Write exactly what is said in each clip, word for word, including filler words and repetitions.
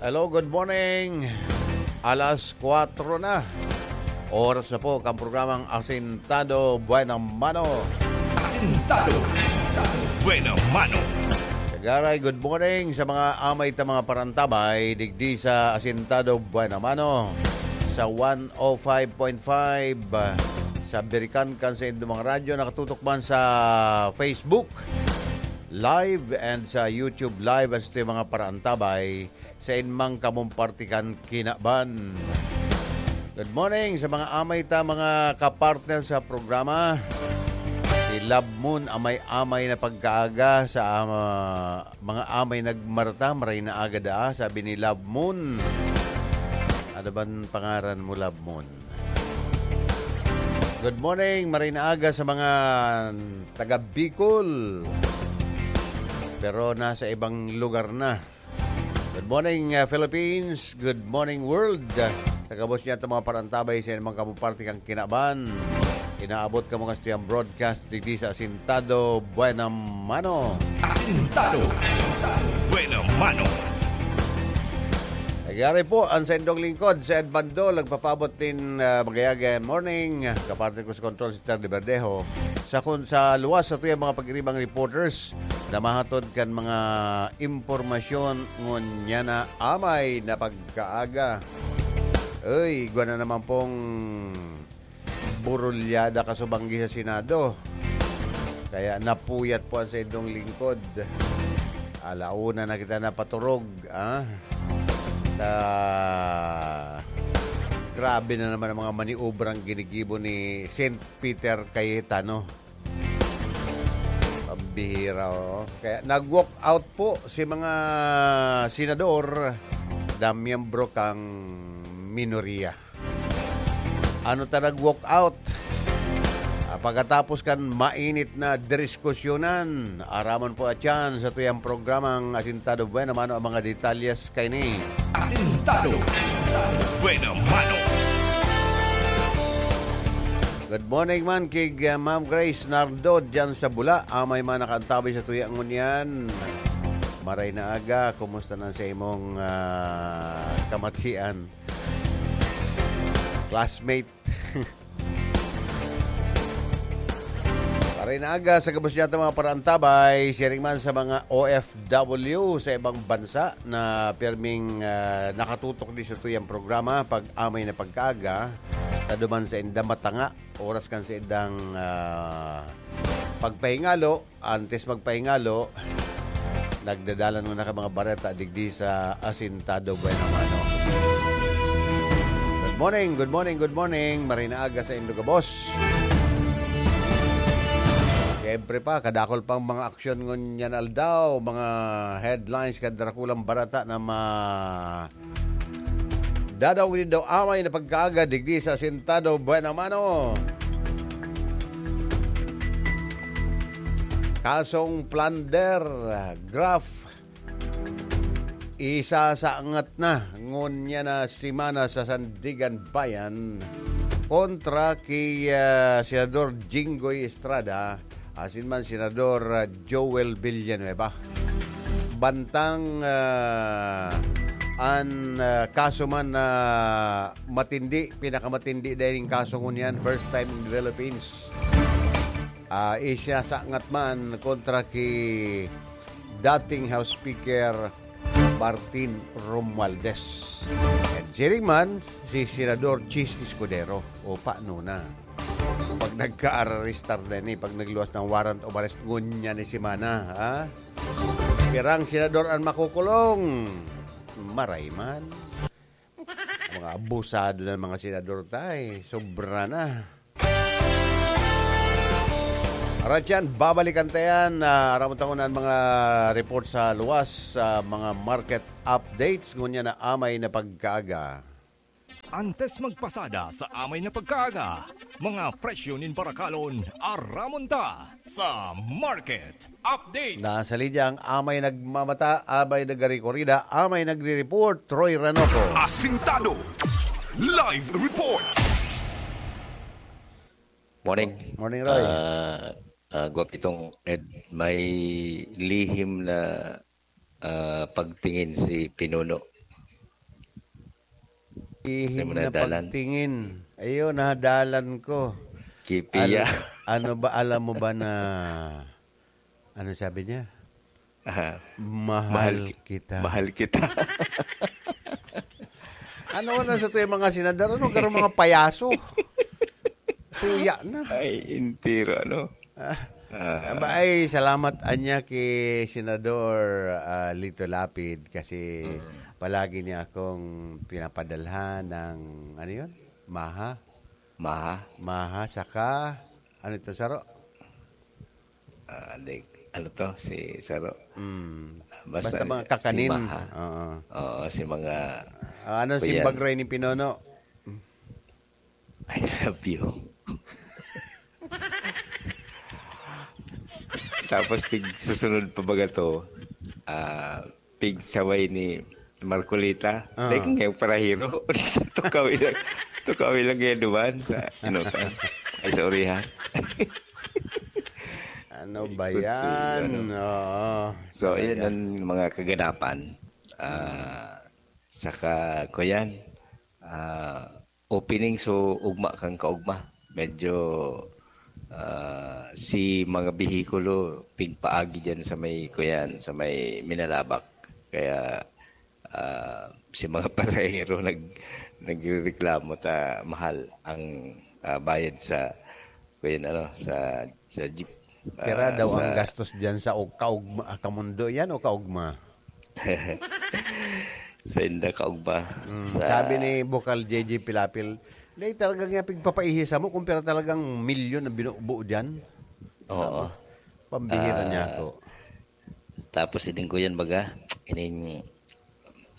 Hello, good morning. Alas kwatro na. Oras na po kan programang Asintado Buena Mano. Asintado Buena Mano. Sagaray, good morning sa mga amay ta mga parantabay, digdi sa Asintado Buena Mano, sa one oh five point five, sa Birikan kan sa Indomang Radyo, nakatutok man sa Facebook Live and sa YouTube Live, at sa mga parantabay sa inmang kamong parte kan kinaban. Good morning sa mga amay ta, mga kapartner sa programa. Si Love Moon, amay-amay na pagkaaga sa, ah, mga amay nagmarta, maray na aga daa, sabi ni Love Moon. Ano ban pangaran mo, Love Moon? Good morning, maray na aga sa mga taga Bicol. Pero nasa ibang lugar na. Good morning, uh, Philippines. Good morning, world. Sa gabos niya, itong mga parantabay sa inmang kamong parte kan kinaban. Inaabot kamo kan satuyang broadcast digdi sa Asintado Buena Mano. Asintado Buena Mano. Nagyari po ang saindong lingkod, si Ed Bandol, nagpapabot nin, uh, magayagay morning. Kaparte ko sa control, si Terry Verdejo. Sa kun sa luwas sa tuyang mga pag-iribang reporters, na mahatod kan mga impormasyon ngunyan na amay na pagkaaga. Uy, igwa na naman pong burulyada kasubanggi sa Senado. Kaya napuyat po ang saindong lingkod. Ala una na kita napaturog, ah. Ta, grabe na naman ang mga maniobrang ginigibo ni Saint Peter Cayetano. Pambihira, oh. Kaya nag-walk out po si mga senador na miyembro kang minoriya. Ano ta nag-walk out? Ah, pagkatapos kan mainit na diskusyonan, aramon po at yan sa tuyang programang Asintado Buena Mano ang mga detalyes kaini. Asintado Buena Mano. Good morning man kay, uh, Ma'am Grace Nardo dyan sa Bula. Amay man nakaantabay sa tuya ngunyan. Maray na aga, kumusta na sa imong, uh, kamatian? Classmate. Maray na aga sa gabos niya mga parantabay, siring man sa mga O F W sa ibang bansa na pirming, ah, nakatutok din sa tuyang programa pag amay na pagkaaga, sa duman sa inda matanga, oras kan sa indang, ah, pagpahingalo, antes magpahingalo, nagdadalan muna ka mga bareta digdi sa Asintado Buena Mano. Good morning, good morning, good morning. Maray na aga sa indo gabos. Siyempre pa, kadakol pang mga aksyon ngunyan aldaw, mga headlines kan darakulang bareta na ma-, dadaw nindo amay na pagkaaga digdi sa Asintado Buena Mano. Kasong plunder, graft, isasaangat na ngunyan na semana sa Sandiganbayan kontra ki, ah, Senador Jinggoy Estrada asin man Senador, ah, Joel Villanueva. Bantang, ah, an, ah, kaso man na matindi, pinakamatindi daing kaso ngunyan, first time in the Philippines. Ah, isasaangat man kontra ki dating House Speaker Martin Romualdez. And siring man, si Senador Chiz Escudero. O, paano na? Pag nagka-arrestar na ni, pag nagluwas ng warrant of arrest, ngunyan ni semana, ha? Pirang senador ang makukulong? Maray man. Mga abusado na mga senador tayo. Sobra na. Arat yan, babalikan ta yan. Ah, aram mo tangon ang mga report sa luwas, sa mga market updates. Ngunyan na amay na pagkaaga. Antes magpasada sa amay na pagkaaga, mga presyo nin barakalon, aramon ta sa Market Update. Nasa linya ang amay nagmamata, amay nagarikorida, amay nagre-report, Roy Ranoco. Asintado. Live report. Morning. Morning, Roy. Ah, ah, Gwapitong Ed, may lihim na, ah, pagtingin si Pinuno Ihim na pagtingin. Ayun, nadalan ko. Kipiya. Al-, ano ba, alam mo ba na, ano sabi niya? Aha. "Mahal kita." Mahal kita. Ano na sa tuwing mga senador? Ano, garo mga payaso? Suya na. Ay, entero, ano? Ah, ah, ba, ay, salamat anya ki Senador, ah, Lito Lapid kasi palagi niya akong pinapadalhan ng, ano yun? Maha. Maha. Maha, saka, ano ito, saro? Ah, di, ano to? Si Saro. Mm. Basta Basta mga si kakanin. Maha. Oo. Oo, si mga Ah, ano, kuyan. Simbag Ray ni Pinono? I love you. Tapos pig susunod pa baga to, ah, pig saway ni Marcolita. Ah. Like, ngayong parahiro. Tukaw ilang, tukaw ilang ngayon duman sa, ano ka? Ay, sa urihan. Ano ba Ikot yan? Ano. Oo. So, ayan ang mga kaganapan. Ah, saka, kuyan, ah, opening so ugma kan kaugma. Medyo, ah, si mga behikulo pigpaagi diyan sa may, kuyan, sa may Minalabak. Kaya, ah, si mga pasahero nag-, nagrereklamo ta mahal ang, ah, bayad sa, kuyan, ano, sa, sa jeep. Pira Ah, daw ang sa gastos diyan sa og-, kaugma, kamundo yan o kaugma? Sa inda kaugma. Mm, sa sabi ni Bukal J J Pilapil, "Dai talaga nga pigpapaihi sa mo kung pira talagang milyon na binubo diyan." Oo. Pambihira Ah, niya ako. Tapos ining kuyan baga, ining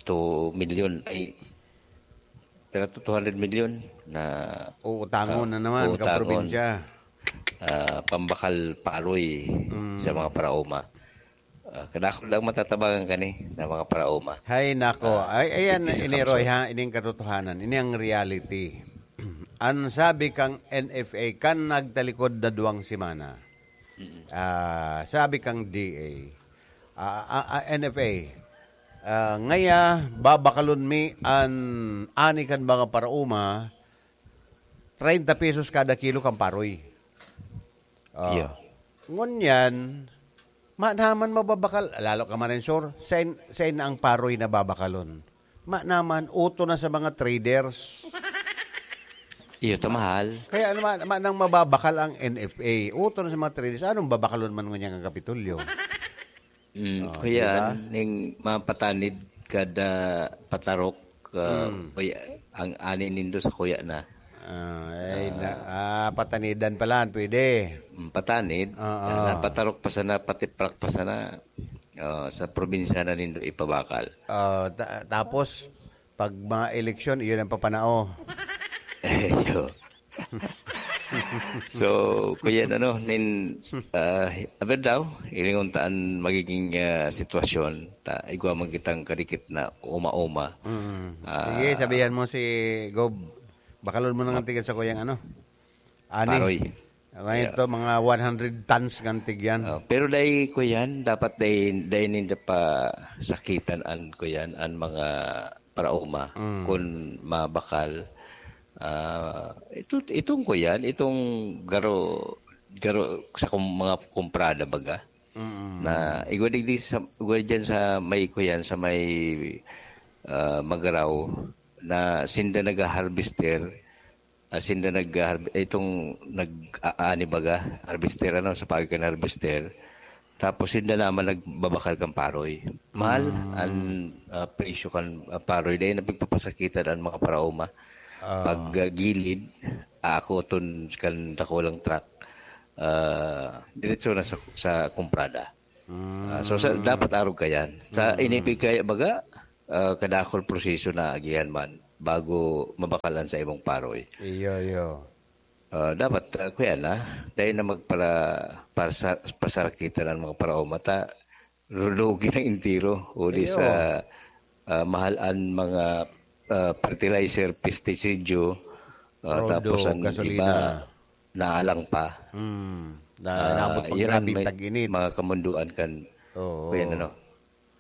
two million, ay, pira to, two hundred million na Uutangon ah, na naman, uutangon. Kaprobinsya. Ah, pambakal paroy Mm. sa mga paraoma. Ah, kadakul lang matatabangan kani na mga paraoma. Hay nako. Ah, Ay, ayan, iti sa ini, Roy, kamsot. Ha? Ini ang katotohanan. Ini ang reality. Ang sabi kang N F A, kan nagtalikod na duwang semana, Mm. ah, sabi kang D A, ah, ah, ah, N F A, ah, ngaya, babakalon mi an ani kan mga paraoma, treinta pesos kada kilo kan paroy. Oh. Iyo. Ngunyan, ma-, naman mababakal, lalo ka, Marinsor, sain, sain na ang paroy na babakalon? Ma-, naman, uto na sa mga traders. Iyo, ta mahal. Kaya naman, ma-, nang mababakal ang N F A, uto na sa mga traders, anong babakalon man ngunyan ang Kapitolyo? Mm, Oh, kuya, di ba? Ning mapatanid kada patarok, ah, Mm. kuya, ang ani nindo sa kuya na. Ah, ay, na, Ah. ah, patanidan pala, pwede. Mm, patanid, Oo. ah, patarok pa sana, patiprak pa sana, ah, sa probinsya na nindo ipabakal. Ah, ta-, tapos, pag mga eleksyon, iyon ang papanao. Iyo. So, kuya, ano, nin, ah, aber daw, ilingon ta an magiging, ah, sitwasyon, ta, igwa man kitang kadikit na uma-uma. Mm. Ah, Sige, sabihan mo si Gob, bakalon mo na nga tigan sa kuyang ano? Ani? Paroy. Ngayon Yeah. to, mga one hundred tons nga tig yan. Ah, pero dai, kuyan, dapat dai, dai ninda pa sakitan an, kuyan, an mga paraoma Mm. kun mabakal. Ah, ito, itong kuyan, itong garo, garo sa kum-, mga kumprada baga, Mm. na igwa digdi sa, igwa dyan sa may kuyan, sa may, ah, Magaraw, na sinda nag-harvester, ah, sinda nag-, ah, itong nag-aani baga, harvester, ano, sa pagi kan harvester. Tapos sinda naman nagbabakal kan paroy. Mahal Mm. an, ah, presyo kan, ah, paroy. Dahil napagpapasakitan ang mga paraoma. Ah. Pag, ah, gilid, aakoton kan dakulang truck, ah, diretso na sa, sa kumprada. Ah, so, sa, Mm. dapat arog kayan. Sa Mm. inipig kaya baga, ah, kadakol proseso na agihan man bago mabakalan sa imong paroy. Iyo, iyo. Ah, dapat, ah, kuya na, dahil na magpara-, parsa-, pasarakitan ang mga paraoma ta, rudugi ng entero, uli Iyo. sa, ah, mahal ang mga, ah, fertilizer, pestisidyo, ah, Rodo, tapos ang gasolina. iba, naalang pa. Mm. Na, Ah, naabot pag yun ang grabe may tag-init. mga kamunduan kan, Oo. kuya, ano,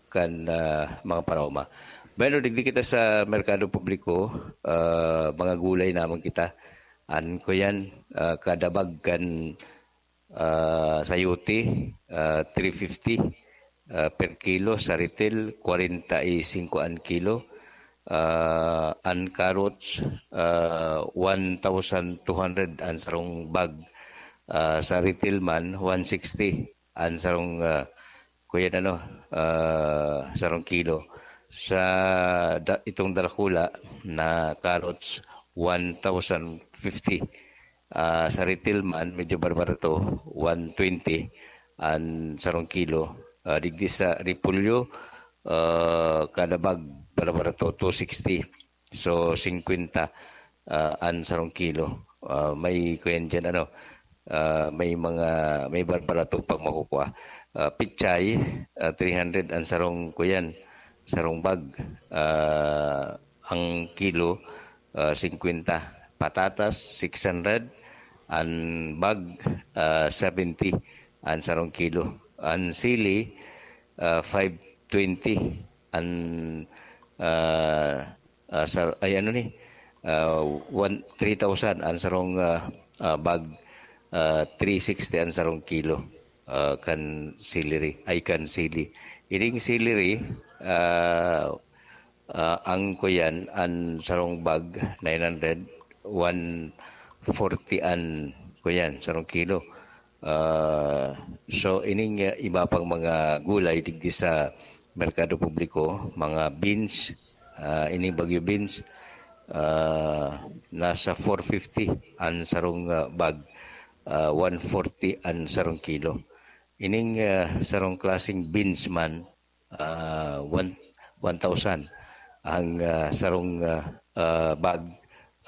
kan, ah, mga paraoma. Bueno, digdi kita sa merkado publiko, ah, mga gulay naman kita. An ko yan, ah, kada bag kan, ah, sayote, ah, three fifty, ah, per kilo. Sa retail, kwarenta y singko an kilo. Ah, an carrots, ah, one thousand two hundred an sarong bag. Ah, sa retail man, one sixty an sarong, ah, kuya, ano, ah, sarong kilo. Sa da-, itong darakula na carrots, one thousand fifty. Ah, sa retail man, medyo barbarato, one twenty an sarong kilo. Ah, digdi sa repolyo, ah, kada bag barbarato, two sixty. So, singkwenta, ah, an sarong kilo. Ah, may kuyan diyan, ano, ah, may mga, may barbarato pang makukuha. Ah, pichay, ah, three hundred an sarong kuyan, sarong bag. Ah, ang kilo, ah, singkwenta. Patatas, six hundred an bag, ah, seventy an sarong kilo. An sili, ah, five twenty an, ah, ah, sa, ay, ano ni, ah, one, three thousand an sarong, ah, ah, bag, ah, three sixty an sarong kilo, ah, kan celery, ay, kan sili. Ining celery, ah, ah, ang kuyan, an sarong bag, nine hundred, one forty an kuyan, sarong kilo. Ah, so, ining, ah, iba pang mga gulay digdi sa merkado publiko, mga beans, ah, ining bagyo beans, ah, nasa four fifty an sarong, ah, bag, ah, one forty an sarong kilo. Ining, ah, sarong klaseng beans man, ah, one, one thousand ang, ah, sarong, ah, ah, bag,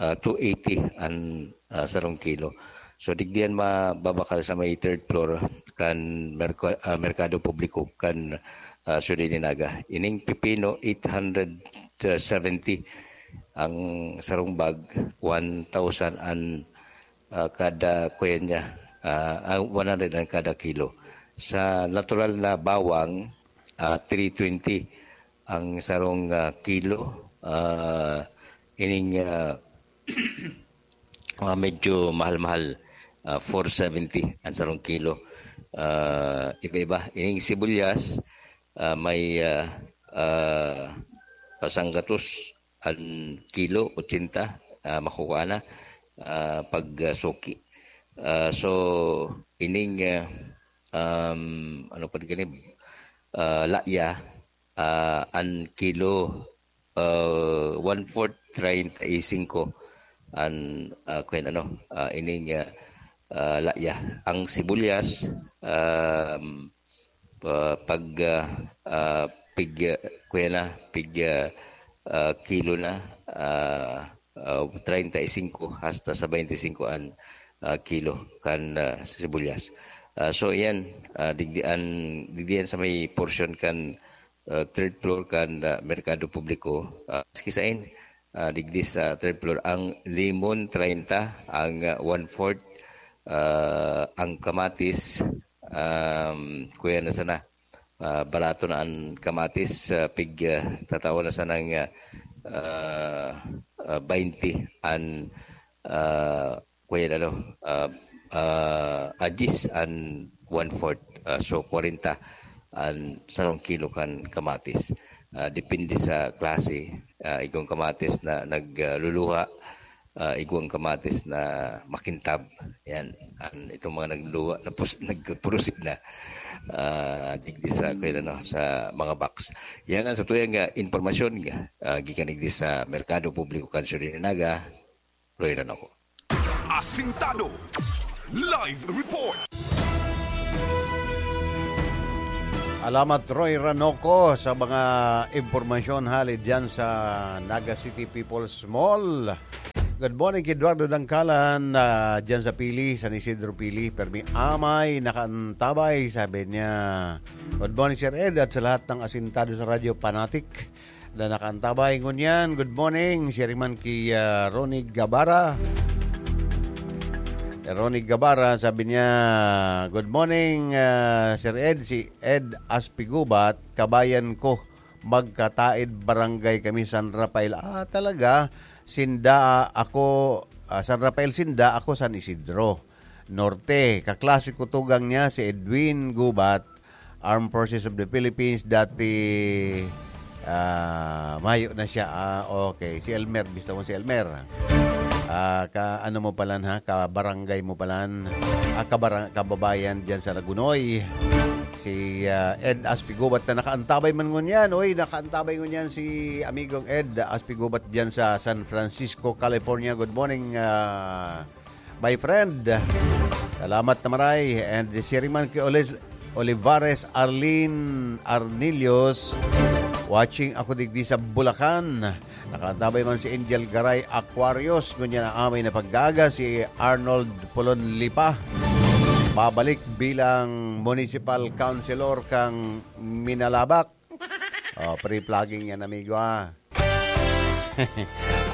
ah, two eighty an, ah, sarong kilo. So, digdiyan mababakal sa may third floor kan merko-, ah, merkado publiko kan, ah, Ciudad de Naga. Ining pipino, eight hundred seventy ang sarong bag, one thousand an, ah, kada kuya niya, ah, ah, one hundred an kada kilo. Sa natural na bawang, ah, three twenty ang sarong, ah, kilo. Ah, ining, ah, ah, medyo mahal-mahal, ah, four seventy ang sarong kilo. Ah, iba-iba. Ining sibuyas, ah, may, ah, ah, pasanggatos an kilo, ochenta, ah, makukuha na, ah, pag, ah, suki. Ah, so, ining, ah, um, ano pa gani, ah, laya, ah, an kilo, ah, one-fourth, treinta y cinco an, ah, kwen ano, ah, ining, ah, ah, laya. Ang sibuyas, um, ah, pag, ah, ah, pig, ah, kuya na, pig, ah, ah, kilo na, ah, ah, treinta y cinco hasta sa bainti singko an, ah, kilo kan, ah, sibuyas. Ah, so, iyan, ah, digdi an, digdi an sa may portion kan, ah, third floor kan, ah, merkado publiko. Ah, maski sain, ah, digdi sa third floor, ang limon, treinta, ang, ah, one-fourth, ah, ang kamatis, um, kuya na sana, ah, barato na an kamatis, ah, pig, ah, tatao na sanang, ah, ah, ah, bainti an, ah, kuya na, no? Ah, ah, adis an one-fourth, ah, so, kwarenta an sarong kilo kan kamatis. Ah, depende sa klase. Ah, igong kamatis na nagluluha, ah, igwang kamatis na makintab. Yan. An, itong mga nagluluha, napus-, nagpurusig na, ah, digdi sa, kaya, ano, sa mga box. Yan ang sa tuyang, ah, impormasyon, ah, gikan digdi sa Merkado Publiko kan Ciudad de Naga, Roy Ranoco. Asintado. Live report. Alamat, Roy Ranoco, sa mga impormasyon hali dyan sa Naga City People's Mall. Good morning, Eduardo Dangkalan, ah, dyan sa Pili, San Isidro Pili. Permi amay, nakaantabay, sabi niya. Good morning, Sir Ed, at sa lahat ng asintado sa radyo, fanatic na nakaantabay ngunyan. Good morning, siya rin man ki, ah, Ronnie Gabara. Eh, Ronnie Gabara, sabi niya, "Good morning, ah, Sir Ed, si Ed Aspigubat, kabayan ko. magkataed barangay kami, San Rafael. Ah, talaga? Sinda, ako, ah, San Rafael sinda, ako San Isidro Norte. Kaklase ko tugang niya si Edwin Gubat, Armed Forces of the Philippines, dati, ah, mayo na siya. Ah, okay. Si Elmer, gusto mo si Elmer? Ah, ka, ano mo palan, ha? Kabarangay mo palan. Ah, kabara-, kababayan diyan sa Lagunoy. Si, ah, Ed Aspigubat na nakaantabay man ngunyan. Uy, nakaantabay ngunyan si amigong Ed Aspigubat diyan sa San Francisco, California. Good morning, ah, my friend. Salamat na maray. And si Riman ki Oles-, Olivares Arlene Arnillos, watching ako digdi sa Bulacan. Nakaantabay man si Angel Garay Aquarius, ngunyan na amay na pag-aaga si Arnold Pulon Lipa. Babalik bilang municipal councilor kang Minalabac. Oh, free plugging yan, amigo, ha.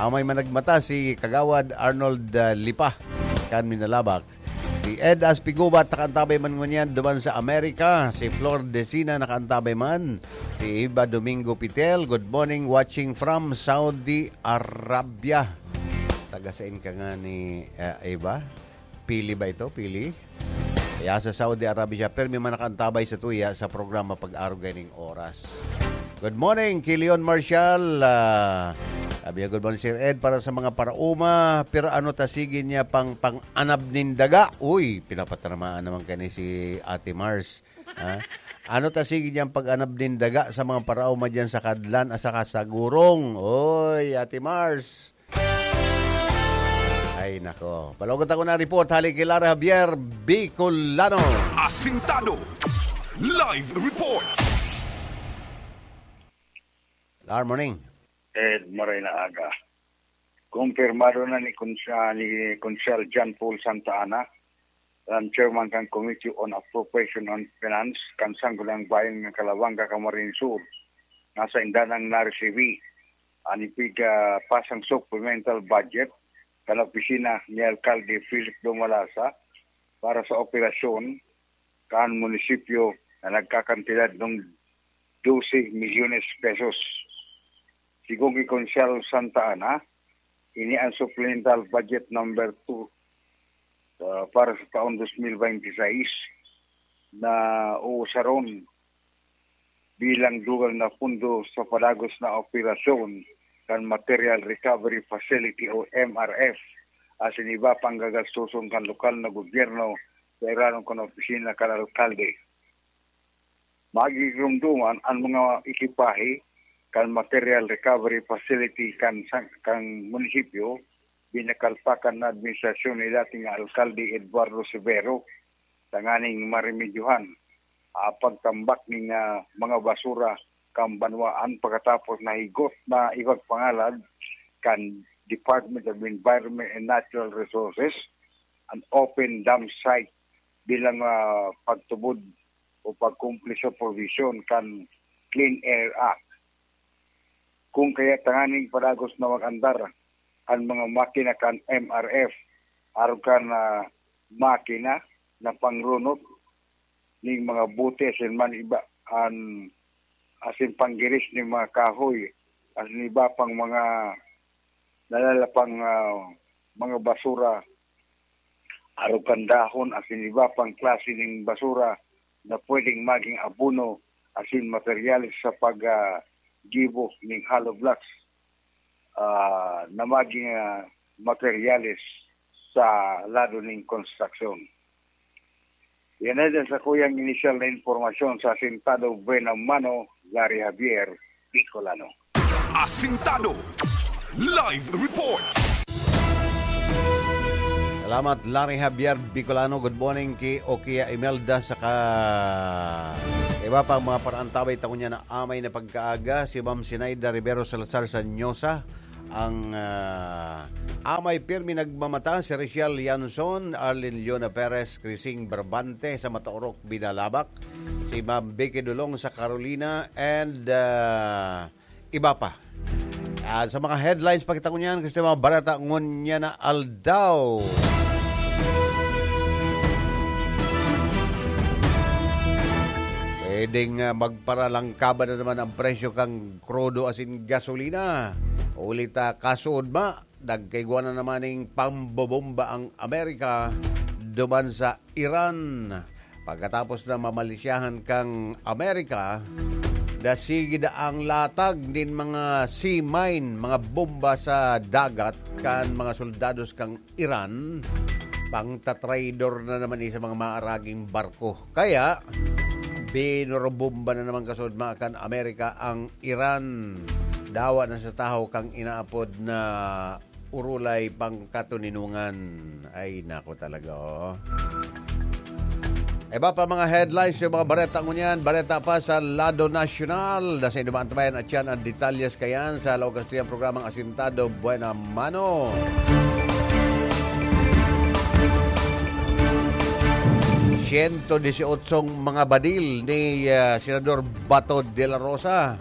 Amay managmata si Kagawad Arnold, ah, Lipa, kan Minalabac. Si Ed Aspigubat, nakaantabay man ngunyan duman sa Amerika. Si Flor Decina, nakaantabay man. Si Eva Domingo Pitel, good morning, watching from Saudi Arabia. Taga sain ka nga ni, ah, Eva? Pili ba ito? Pili? Kaya sa Saudi Arabia siya, permi man nakaantabay sa tuya sa programa Pag-arog Gaining Oras. Good morning, ki Leon Marshall. Ah, sabi niya, "Good morning, Sir Ed. Para sa mga paraoma, pero ano ta sige niya pang, pang-anab nin daga?" Uy, pinapatanamaan naman kani si Ate Mars. Ha? Ano ta sige niyang pag-anab nin daga sa mga paraoma diyan sa Kadlan at saka sa Gurong? Uy, Ate Mars. Ay, nako. Palagot ako na report. Hali kay Lara Javier, Bicolano. Asintado. Live report. Lar, morning. Ed, maray na aga. Kumpirmado na ni Konsa-, ni Konsehal John Paul Santa Ana, ang chairman kan Committee on Appropriation and Finance kan Sangguniang Bayan ng Calabanga, Camarines Sur, na sainda nang naresibi an ipigpasang supplemental budget kan opisina ni Alkalde Philip Dumalasa para sa operasyon kan munisipyo na nagkakantidad ng dose milyones pesos. Sigon ki Konsehal Santa Ana, ini ang supplemental budget number two, ah, para sa taon dos mil baynte sais na uusaron bilang dugang na pondo sa padagos na operasyon kan Material Recovery Facility o M R F, asin iba pang gagastoson kan lokal na gobyerno sa irarom kan opisina kan alkalde. Magigiromdoman an mga ekipahe kan Material Recovery Facility kan sa-, kan munisipyo, binakalpakan na administrasyon ni dating alkalde Eduardo Severo, tanganing maremedyohan ang pagtambak nin, ah, mga basura kan banwaan, pakatapos nahigot na ipagpangalad kan Department of Environment and Natural Resources an open dump site bilang, ah, pagtubod o pagkumpli sa provision kan Clean Air Act. Kung kaya tanganing padagos na mag-andar an mga makina kan M R F, arog kan, ah, makina na pangrunot ning mga bote asin man iba an, asin panggiris ning mga kahoy, asin iba pang mga nalalapang, ah, mga basura, arog kan dahon asin iba pang klase ning basura na pwedeng maging abono asin materyales sa pag, ah, gibo ning hollow blocks, ah, na maging, ah, materyales sa lado ning konstruksyon. Yan na dyan sa kuyang inisyal na impormasyon sa Asintado Buena Mano, Larry Javier, Bicolano. Asintado. Live report. Salamat, Larry Javier Bicolano. Good morning ki Okia Imelda saka iba pang mga paraantabay ta ngunyan na amay na pagkaaga. Si Ma'am Sinaida Rivero Salazar Sanyosa, ang, ah, amay pirmi nagmamata, si Rachel Yanson, Arlene Leona Perez, Crising Barbante sa Mataorok, Binalabak, si Ma'am Vicky Dulong sa Carolina, and, ah, iba pa. Ah, sa mga headlines, pakita ko niyan, gusto yung mga barata ngunyan na aldaw. Pwedeng, ah, magparalangkaban na naman ang presyo kan krudo asin gasolina. Huli ta, kasuodma, nagkaigwa na naman ning pambobomba ang Amerika duman sa Iran. Pagkatapos na mamalisyahan kan Amerika, nasigid ang latag nin mga sea mine, mga bomba sa dagat kan mga soldados kan Iran, pangtatraidor na naman ni sa mga maaraging barko. Kaya, binurubumba na naman kasuodma kan Amerika ang Iran. Dawa na sa tahaw kan inaapod na urulay pangkatoninongan. Ay, nako talaga, oh. Iba pa mga headlines sa mga bareta ngunyan. Bareta pa sa lado nasyonal. Nasa inuman tabayan at yan ang detalyes kayan sa Laog Kastiyang programang Asintado Buena Mano. Siyento disyotso mga badil ni, ah, Senador Bato de la Rosa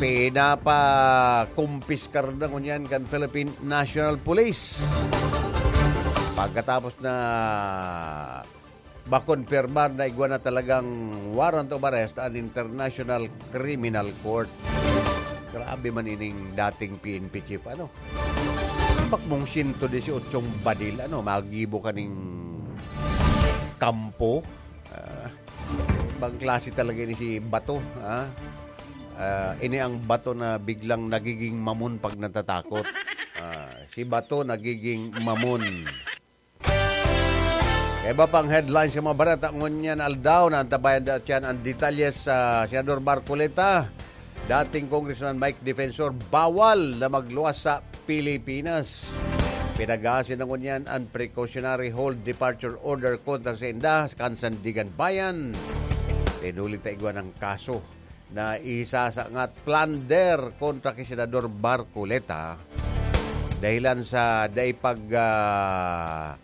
pinapakumpiskar na ngunyan kan Philippine National Police. Pagkatapos na makonpirmar na igwa na talagang warrant of arrest an International Criminal Court. Grabe man ining dating P N P chief, ano? Ambak mong siyento disyotso badil, ano, magibo ka ning kampo? Ah, ibang klase talaga ini si Bato, ha? Ah, ini ang Bato na biglang nagiging mamon pag natatakot. Ah, si Bato nagiging mamon. Kaya iba pang headlines sa mga bareta ngunyan aldaw na antabayan datiyan ang detalye sa Senador Marcoleta. Dating Congressman Mike Defensor, bawal na magluwas sa Pilipinas. Pinag-aasin na ngunyan ang precautionary hold departure order kontra sa inda kan Sandiganbayan. Tinulit na igwa ng kaso na isasangkat plunder kontra ki Senador Marcoleta dahilan sa dai pag, ah,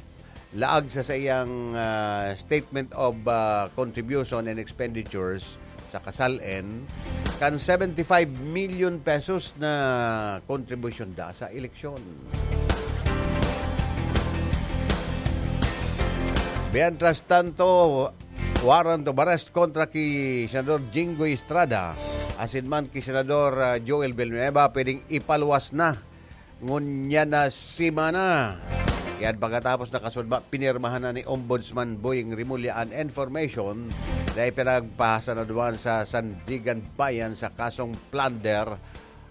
laag sa saiyang, ah, Statement of, ah, Contribution and Expenditures sa kasal-en kan seventy-five million pesos na kontribusyon da sa eleksyon. Mientras tanto, warrant of arrest kontra ki Senador Jinggoy Estrada asin man ki Senador, ah, Joel Villanueva pwedeng ipaluwas na ngunyan na semana. Yan pagkatapos na kasuodma, pinirmahan na ni Ombudsman Boying Remulla an information na ipinagpahasa na duman sa Sandiganbayan sa kasong plunder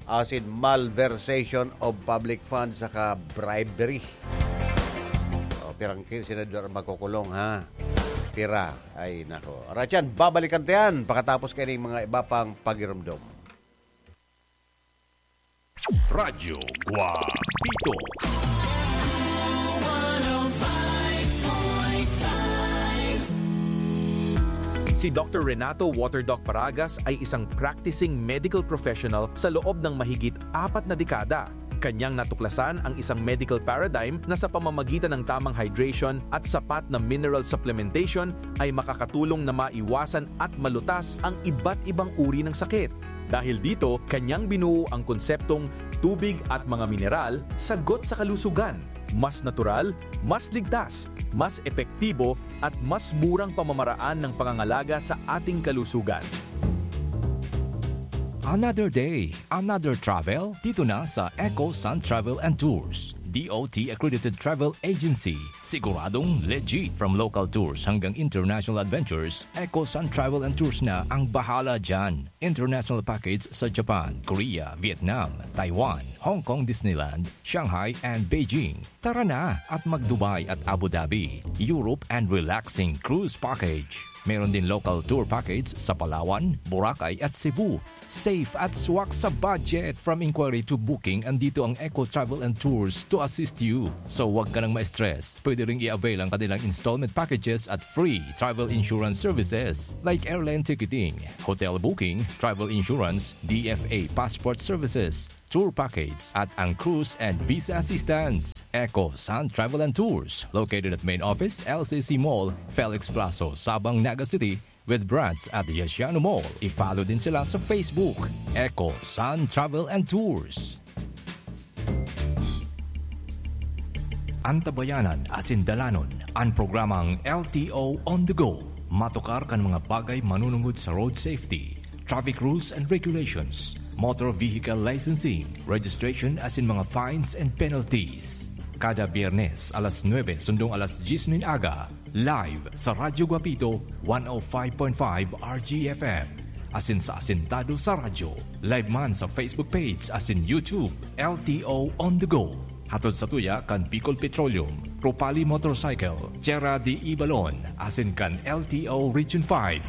asin malversation of public funds saka bribery. O, pirang ki-, senador ang makukulong, ha? Pira? Ay, nako. Alright yan, babalikan ta yan pagkatapos kaining mga iba pang pagirumdom. Radyo Guapito. Si Doctor Renato Waterdoc Paragas ay isang practicing medical professional sa loob ng mahigit apat na dekada. Kanyang natuklasan ang isang medical paradigm na sa pamamagitan ng tamang hydration at sapat na mineral supplementation ay makakatulong na maiwasan at malutas ang iba't ibang uri ng sakit. Dahil dito, kanyang binuo ang konseptong tubig at mga mineral, sagot sa kalusugan. Mas natural, mas ligtas, mas epektibo, at mas murang pamamaraan ng pangangalaga sa ating kalusugan. Another day, another travel, dito na sa Eco Sun Travel and Tours, D O T accredited travel agency. Siguradong legit. From local tours hanggang international adventures, Eco Sun Travel and Tours na ang bahala dyan. International package sa Japan, Korea, Vietnam, Taiwan, Hong Kong Disneyland, Shanghai, and Beijing. Tara na at mag-Dubai at Abu Dhabi, Europe, and relaxing cruise package. Meron din local tour package sa Palawan, Boracay, at Cebu. Safe at swak sa budget. From inquiry to booking, andito ang Eco Travel and Tours to assist you. So, wag ka nang ma-stress. Pwede ring i-avail ang kanilang installment packages at free travel insurance services like airline ticketing, hotel booking, travel insurance, D F A passport services, tour package, at ang cruise and visa assistance. Eco Sun Travel and Tours, located at main office, L C C Mall, Felix Plazo, Sabang, Naga City, with branch at Yasiano Mall. I-follow din sila sa Facebook, Eco Sun Travel and Tours. Antabayanan asin dalanon an programang L T O On The Go. Matukar kan mga bagay manunungod sa road safety, traffic rules and regulations, motor vehicle licensing, registration asin mga fines and penalties. Kada Biyernes, alas nuebe sundong alas dyes nin aga, live sa Radyo Guapito, one oh five point five R G F M. Asin sa Asintado sa Radyo. Live man sa Facebook page asin YouTube, L T O On The Go. Hatod sa tuya kan Bicol Petroleum, Ropali Motorcycle, Tierra de Ibalon, asin kan L T O Region five.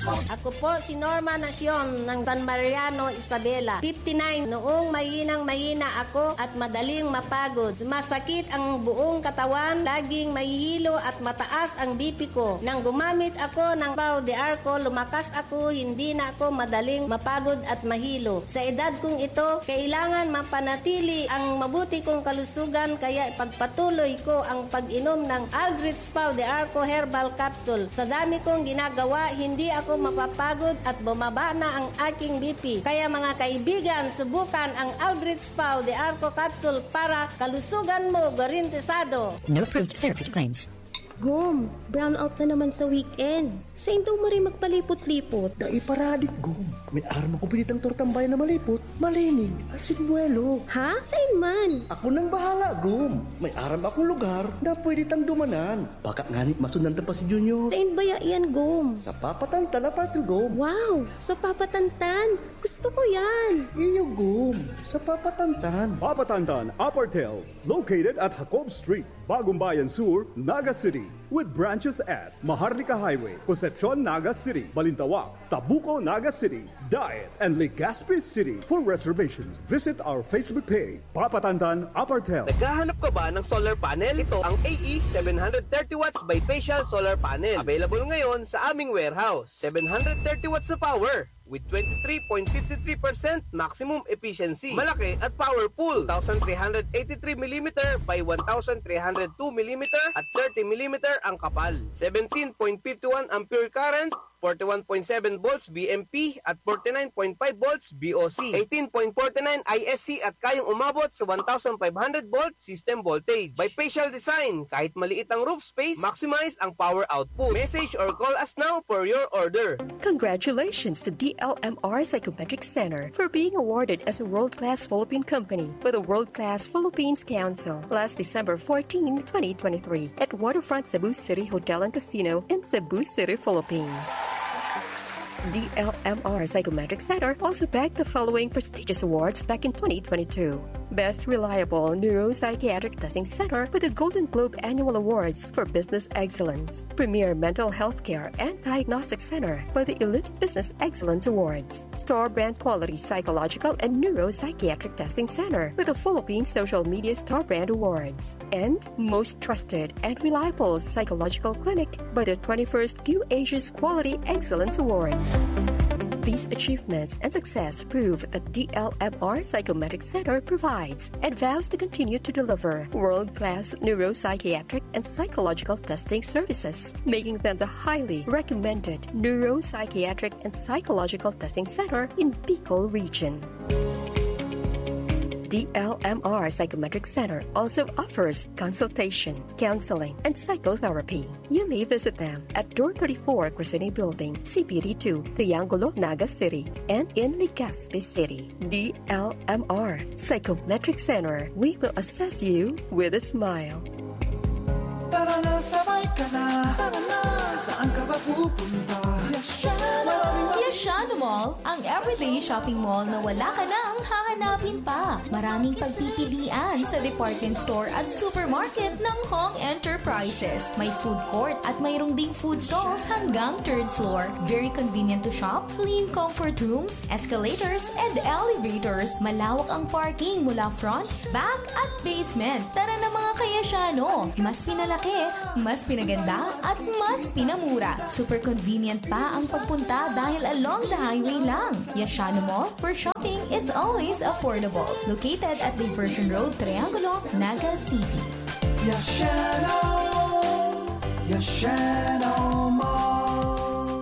Ako po si Norma Nacion ng San Mariano, Isabela, fifty-nine. Noong mahinang mahina ako at madaling mapagod, masakit ang buong katawan, laging mahihilo at mataas ang B P ko. Nang gumamit ako ng Pau de Arco, lumakas ako, hindi na ako madaling mapagod at mahilo. Sa edad kong ito, kailangan mapanatili ang mabuti kong kalusugan, kaya ipagpatuloy ko ang pag-inom ng Aldrich Pau de Arco Herbal Capsule. Sa dami kong ginagawa, hindi ako mapapagod at bumaba na ang aking B P. Kaya mga kaibigan, subukan ang Aldrich Pau de Arco Capsule para kalusugan mo garantisado. No approved therapeutic claims. Gom, brownout na naman sa weekend. Sain daw maray magpalipot-lipot? Dai paradik, Gom. May aram akong pinitang tortang bayan na malipot, malinig, asin buwelo. Ha? Sain man? Ako nang bahala, Gom. May aram akong lugar na pwede tang dumanan. Baka ngani masundan ta pa si Junior. Sain baya yan, Gom? Sa Papa Tantan, Apartel, Gom. Wow! Sa Papa Tantan! Gusto ko yan! Iyo, Gom. Sa Papa Tantan. Papa Tantan, Apartel, located at Jacob Street, Bagong Bayan Sur, Naga City, with branches at Maharlika Highway, Concepcion, Naga City, Balintawak, Tabuco, Naga City, Daet, and Legazpi City. For reservations, visit our Facebook page, Papa Tantan Apartel. Naghahanap ka ba ng solar panel? Ito ang A E seven hundred thirty watts bifacial solar panel. Available ngayon sa aming warehouse. Seven hundred thirty watts na power with twenty-three point five three percent maximum efficiency. Malaki at powerful. Two thousand three hundred eighty-three millimeter by one thousand three hundred two millimeter at thirty millimeter ang kapal. Seventeen point five one ampere current, forty-one point seven volts V M P at forty-nine point five volts V O C, eighteen point forty-nine I S C at kayang umabot sa one thousand five hundred volt system voltage. Bifacial design, kahit maliit ang roof space, maximize ang power output. Message or call us now for your order. Congratulations to D L M R Psychometric Center for being awarded as a world-class Philippine company by the World Class Philippines Council last December fourteen, twenty twenty-three, at Waterfront Cebu City Hotel and Casino in Cebu City, Philippines. D L M R Psychometric Center also bagged the following prestigious awards back in twenty twenty-two: Best Reliable Neuropsychiatric Testing Center with the Golden Globe Annual Awards for Business Excellence, Premier Mental Health Care and Diagnostic Center with the Elite Business Excellence Awards, Store Brand Quality Psychological and Neuropsychiatric Testing Center with the Philippine Social Media Store Brand Awards, and Most Trusted and Reliable Psychological Clinic by the twenty-first Q Asia's Quality Excellence Awards. These achievements and success prove that D L M R Psychometric Center provides and vows to continue to deliver world-class neuropsychiatric and psychological testing services, making them the highly recommended neuropsychiatric and psychological testing center in Bicol region. D L M R Psychometric Center also offers consultation, counseling, and psychotherapy. You may visit them at Door thirty-four, Crescene Building, C P D two, Triangulo, Naga City, and in Legazpi City. D L M R Psychometric Center. We will assess you with a smile. Tara na, sabay ka na. Tara na, saan ka ba pupunta? Yashano! Maraming ma- Yashano Mall, ang everyday shopping mall na wala ka nang hahanapin pa. Maraming pagpipilian sa department store at supermarket ng Hong Enterprises. May food court at mayroong ding food stalls hanggang third floor. Very convenient to shop, clean comfort rooms, escalators, and elevators. Malawak ang parking mula front, back, at basement. Tara na, mga ka-Yashano! Mas pinalaki, mas pinaganda, at mas pinamura. Super convenient pa ang pagpunta dahil along the highway lang. Yashano Mall, where shopping is always affordable. Located at Diversion Road, Triangulo, Naga City. Yashano! Yashano Mall!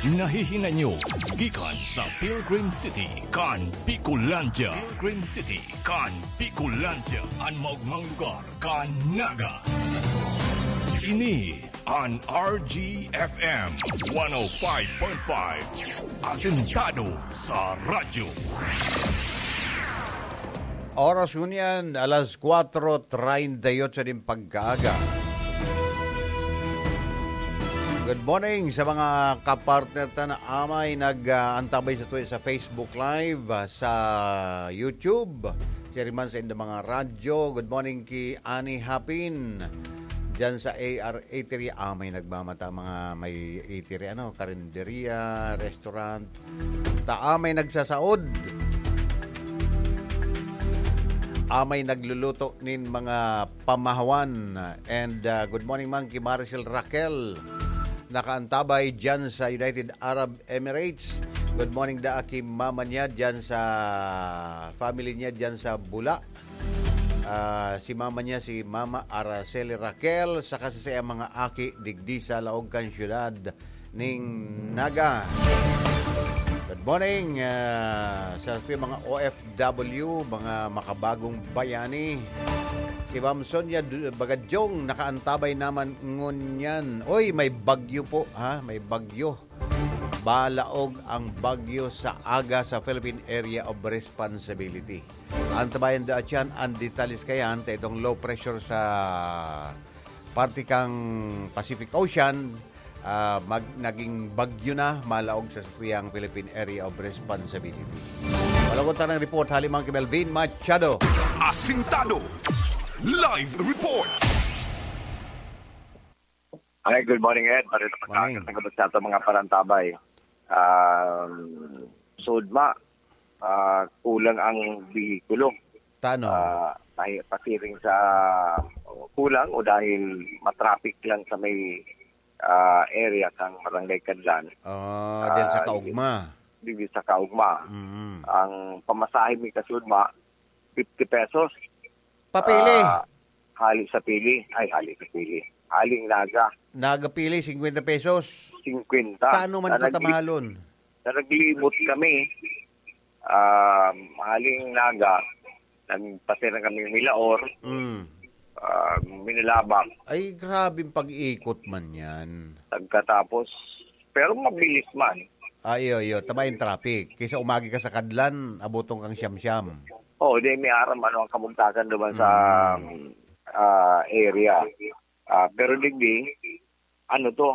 Nahihinanyo gikan sa Pilgrim City kan Bicolandia. Pilgrim City kan Bicolandia, an maogmang lugar kan Naga. Ini an R G F M one oh five point five, asentado sa radyo. Oras ngunyan, alas kwatro treinta y ocho nin pagkaaga. Good morning sa mga kapartner ta na amay nag, ah, antabay sa tuwi sa Facebook Live, ah, sa YouTube. Siya rin man sa inyong mga radyo. Good morning ki Ani Hapin. Diyan sa A R Eatery, ah, may nagmamata, mga may eatery, ano, karinderya, restaurant. Ta, ah, may nagsasaod. Ah, may nagluluto nin mga pamahawan. And, ah, good morning man ki Maricel Raquel. Nakaantabay diyan sa United Arab Emirates. Good morning da ki mama niya diyan sa family niya diyan sa Bula. Ah, si mama niya, si Mama Araceli Raquel, saka sa saiyang mga aki digdi sa laog kan siyudad ning Naga. Good morning, ah, sa mga O F W, mga makabagong bayani. Si Ma'am Sonia Du-, Bagadyong nakaantabay naman ngunyan. Oy, may bagyo po, ha? May bagyo. Balaog ang bagyo sa aga sa Philippine Area of Responsibility. Antabayan da atyan an detalles kayan ta itong low pressure sa parte kang Pacific Ocean, ah, mag-, naging bagyo na, malaog sa satuyang Philippine Area of Responsibility. Wala ko tanang report, hali man ki Melvin Machado. Asintado. Live report. Hi, good morning, Ed. Marito Morning. Pagkakas ng kabot sa atong mga parantabay. Um, sudma, ah, kulang ang bihikulo. Tano? Ah, tahi-, pasiring sa kulang o dahil matraffic lang sa may, ah, area kang Barangay Kadlan. Ah, dahil sa Ah, kaugma. Dili sa kaugma. Mm. Ang pamasahe mi kasudma, fifty pesos. Papili? Ah, hali sa pili. Ay, hali sa pili. Haling Naga. Naga pili, singkwenta pesos. Singkwenta. Paano man Na nagli-, pagkamahalon? Na naglibot kami, um, haling Naga, nagpasira kami Milaor, Mm. ah, Minalabak. Ay, grabeng pag-ikot man yan. Pagkatapos, pero mabilis man. Ah, iyo, iyo. Tama yung traffic. Kaysa umagi ka sa Kadlan, abotong kang siyam-siyam. Oo, di may aram ano ang kabugtakan naman sa, Mm. ah, area. Ah, pero digdi, ano to,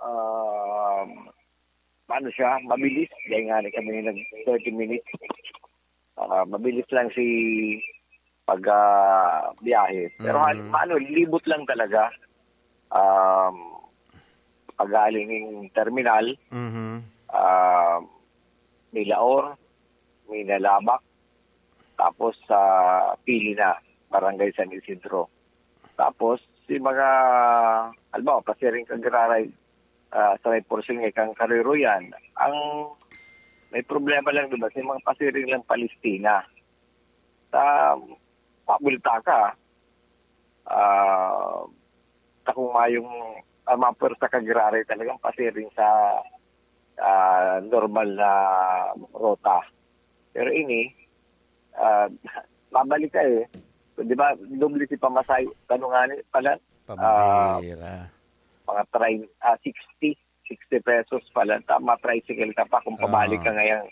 ah, ano siya, mabilis. Dahil nga ni kami nag thirty minutes. Ah, mabilis lang si pag, ah, biyahe. Pero Mm. hal-, ano, libot lang talaga. Um, pagaling ng terminal, Mhm. ah, Milaor, Minalabak, tapos sa Pili na, Barangay San Isidro. Tapos, si mga, halimbawa, pasiring kang giraray, ah, sa may porsyong ikang Kariroyan, ang may problema lang, di ba, sa mga pasiring lang Palestina. Sa, pabulta ka, ah, sa kung mayong, ah, mga pwersa kang giraray talagang pasiring sa, ah, normal na rota. Pero ini, ah, babalik ka eh. So, di ba, doble si pamasahe, ano nga ni, pala, ah, Pambira. mga train, ah, sixty, sixty pesos pala. Tama, tricycle ka pa kung pabalik Oo. ka ngayang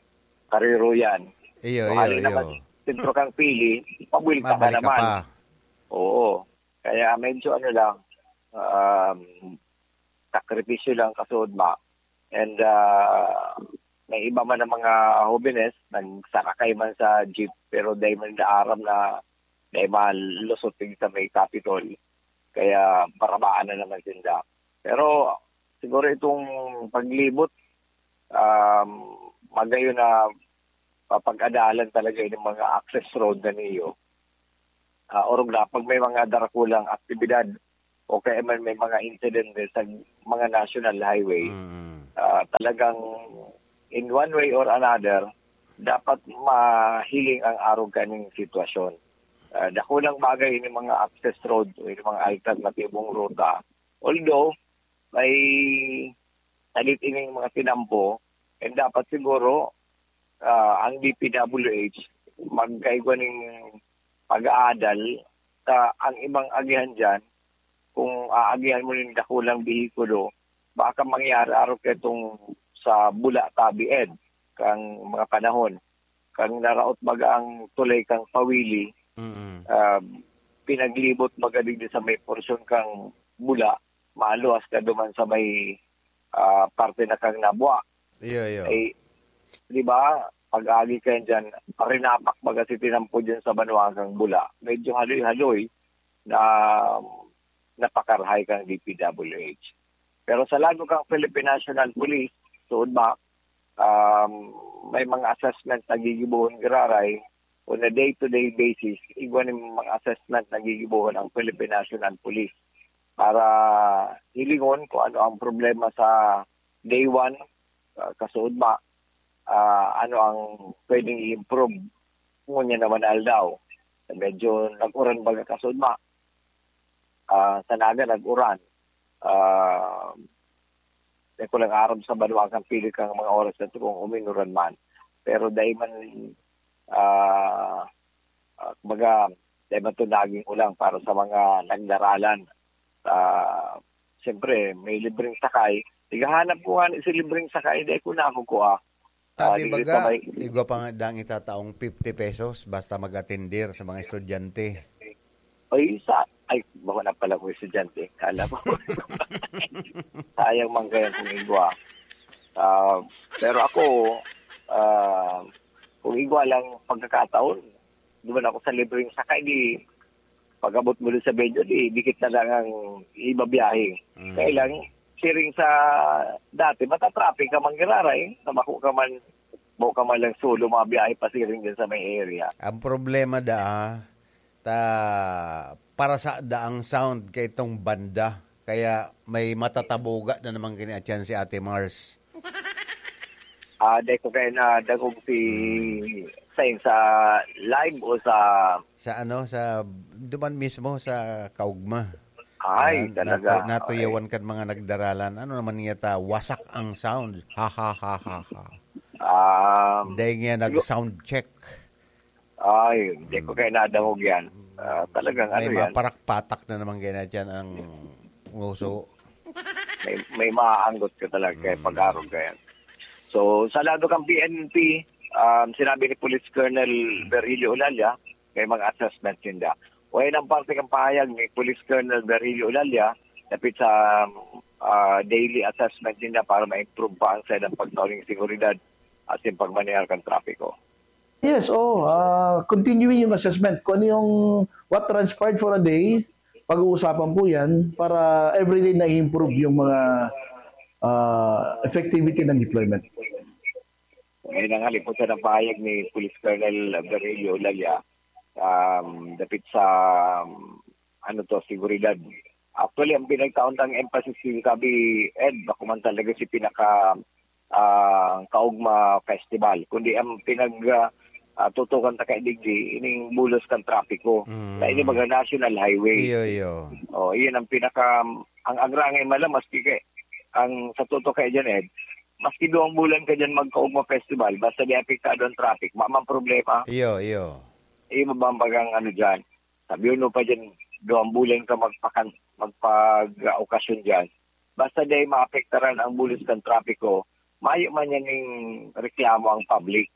Kariroyan. Iyo, So, iyo, hali iyo. naman, sentro kang Pili, pabuelta ka Mabalik ka naman. pa. Oo. Kaya medyo ano lang, um, sakripisyo lang kasudma. And, ah, may iba man ang mga hobenes, nagsarakay man sa jeep, pero dai man nila aram na dai malusot sa may Capitol. Kaya barabaan na naman sinda. Pero siguro itong paglibot, um, magayon na papag-adalan talaga yung mga access road na niyo. Ah, orog na, pag may mga darakulang aktibidad o kaya man may mga insidente sa mga national highway, Mm. ah, talagang in one way or another, dapat mahiling ang arog kaning sitwasyon. Ah, dakulang bagay ini mga access road o ini mga alternatibong ruta. Although, may Salit ining mga tinampo, and dapat siguro, ah, ang D P W H magkaigwa ning pag-aadal sa ang ibang agihan diyan, kung aagihan mo nin dakulang behikulo, baka mangyari arog kaitong sa Bula tabi, Ed, kang mga panahon. Kang naraot baga ang tulay kang Pawili, Mm. ah, pinaglibot baga digdi sa may porsyon kang Bula, maluwas ka duman sa may, ah, parte na kang Nabua. Iyo, iyo. Ay, di ba, pag-agi kayo dyan, parinapak baga si tinampo dyan sa banwa kang Bula. Medyo haloy-haloy na napakarahay kang D P W H. Pero sa lado kang Philippine National Police, suod ba, um, may mga assessment na gigibohon giraray on a day-to-day basis, igwa ning mga assessment na gigibohon ang Philippine National Police para hilingon kung ano ang problema sa day one, ah, kasuod ba, ah, ano ang pwedeng i-improve ngunyan naman aldaw. Medyo nag-uran baga kasuod ba, ah, sa Naga nag-uran. Ah, di ko lang aram sa banwa kang pili kang mga oras na to kung uminuran man. Pero dahil man, ah, ah, kumbaga, dahil man to naging ulang para sa mga nagdaralan. Ah, siyempre, may libreng sakay. Igahanap ko nga si libreng sakay, dahil ko na ako kuha. Ah, Sabi di baga, kita may igwa pa nga dang itataong fifty pesos basta mag-atendir sa mga estudyante. Ay, sa, ay, baka na pala kung estudyante. Kala ko. Sayang man kaya kung igwa. Ah, pero ako, ah, kung igwa lang pagkakataon, duman ako sa libreng sakay, di pag-abot mo dun sa venue, di dikit na lang ang ibabiyahe. Mm. Kaya lang, siring sa dati, matatraffic ka man giraray, na bako ka man, bako ka man lang solo, mabiyahe pa siring dyan sa may area. Ang problema da, ta, para sa da ang sound kay itong banda, kaya may matatabuga na naman kini atyan si Ate Mars. Ah, dai ko kaya nadangog si Sain sa live o sa Sa ano, sa, duman mismo sa Kaugma. Ay, Na, talaga. natu-, natuyawan Ay. kan mga nagdaralan. Ano naman niya ta, wasak ang sound. Ha, ha, ha, ha, ha. Um, Dahil nga sigu- nag-sound check. Ay, hindi ko Mm. kaya nadangog yan. Ah, talagang May ano yan. maparakpatak na naman kaya na dyan ang nguso. May, may maaanggot ka talaga kaya Mm. pag-arog ka yan. So, sa lado kang P N P, um, sinabi ni Police Colonel Berrilio Olalia, may mga assessment ninda. O yan ang parte ng pahayag ni Police Colonel Berrilio Olalia, dapit sa, ah, daily assessment ninda para ma-improve pa ang sa ilang pagtao ng seguridad at yung pagmaneho kan trapiko. Yes, oo. Ah, continuing yung assessment. Kung ano yung what transpired for a day, pag-uusapan po yan para everyday na i-improve yung mga, ah, effectivity ng deployment. Ngayon ang halimutan ng pahayag ni Police Colonel Berrilio Olalia, um, dapit sa, um, ano to, seguridad. Actually, ang pinagtaon tang emphasis ni Kabi Ed, bako man talaga si pinaka, ah, Kaugma Festival, kundi ang pinag, ah, ah, tutukan ta kay digdi, ining bulos kan trapiko. Mm. Na ini mga national highway. Iyo, iyo. Oh, iyon ang pinaka, ang agrangay man lang, maski kay, ang sa totoo kay dyan, Ed, maski duwang bulan ka dyan magkaugma festival, basta di apektado ang traffic, mamang problema. Iyo, iyo. Iyo, mabambagang ano dyan. Sabi mo pa dyan, duwang bulan ka magpakan-, magpag-, ah, okasyon dyan. Basta di maapektaran ang bulos kan trapiko, mayo man yan ning reklamo ang public.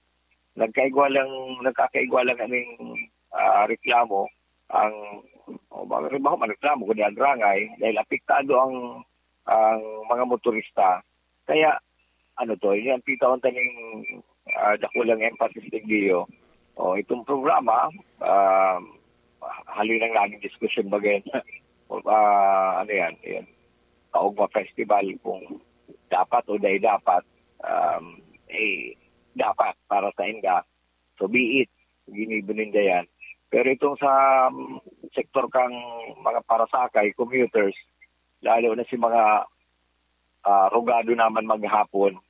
Nagkaigwa lang, nagkakaigwa lang aning, ah, reklamo ang, o mga, halimbawa, man reklamo kundi agrangay dahil apektado ang, ang mga motorista. Kaya, ano to, ini ang pitaon taning, ah, dakulang emphasis ni Gio. O, itong programa, ah, haloy nang naging diskusyon baga yan. Ah, ano yan, yan. Kaugma Festival, kung dapat o dai dapat, um, eh, dapat para sa inda. So be it, ginibo ninda yan. Pero itong sa, um, sektor kang mga parasakay, commuters, lalo na si mga, ah, rugado naman maghapon,